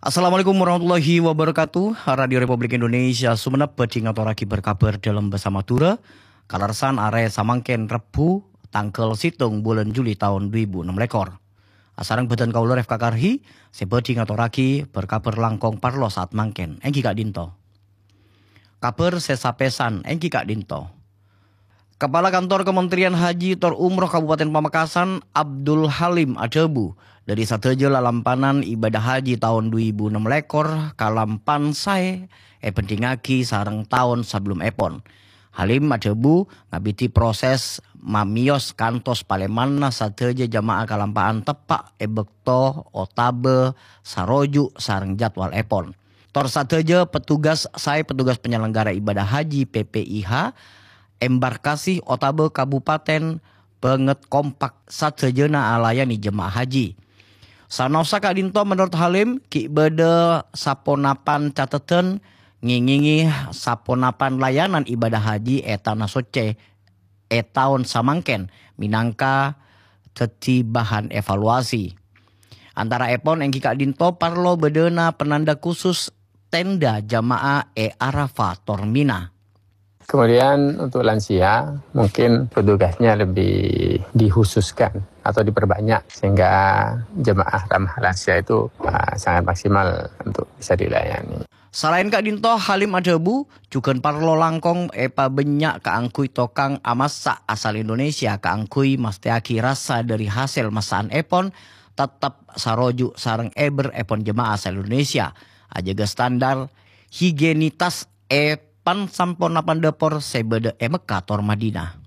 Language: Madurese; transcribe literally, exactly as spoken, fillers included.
Assalamualaikum warahmatullahi wabarakatuh. Radio Republik Indonesia Sumenep bhâdhi ngatorraghi berkabar dâlem bhâsa Madhurâ. Kalerressan arè samangkèn Rebbhu, tangghâl sèttong bulân Juli taon dhu èbu ennem lèkor. Asareng bhâdhân kaulâ Refka Karhi, sè bhâdhi ngatorraghi berkabar langkong parlo saat mangkèn, èngghi ka'dinto. Kabhâr sè sapèsan èngghi ka'dinto. Kepala Kantor Kementerian Haji tor Umroh Kabupaten Pamekasan, Abdul Halim, adhâbu, dâri sadhâjâ lalampanan ibadah haji taon dhu èbu ennem lèkor kalampan saè èbhândhingngaghi sareng taon sabellumèpon. Halim adhâbu, ngabidhi proses mamèyos kantos palèmanna sadhâjâ jamaah kalampa'an teppa' è bâkto otabâ saroju' sareng jadwalèpon. Tor sadhâjâ petugas saè petugas penyelenggara ibadah haji P P I H, embarkasi otabâ kabupaten bângèt kompak sadhâjâna alayani jemaah haji. Sanaossa ka'dinto menurut Halim, ghi' bâdâ saponapan cateddhân ngèngèngè saponapan layanan ibadah haji è Tana Soccè è taon samangkèn mènangka dhâddhi bahan evaluasi. Antaraèpon èngghi ka'dinto parlo bâdâna penanda khusus tenda jamaah è Arafah tor Mina. Kemudian untuk lansia, mungkin petugasnya lebih dikhususkan atau diperbanyak sehingga jemaah ramah lansia itu, uh, sangat maksimal untuk bisa dilayani. Salaèn ka'dinto, Halim adhâbu, jhughân parlo langkong èpabânnya' kaangghuy tokang amassa' asal Indonesia kaangghuy mastèyaghi rassa dâri hasèl massa'anèpon tettep saroju' sareng èbherrèpon jemaah asal Indonesia, ajâgâ standar higienitas è pan-samponapan dâpor sè bâdâ è Mekkah tor Madinah.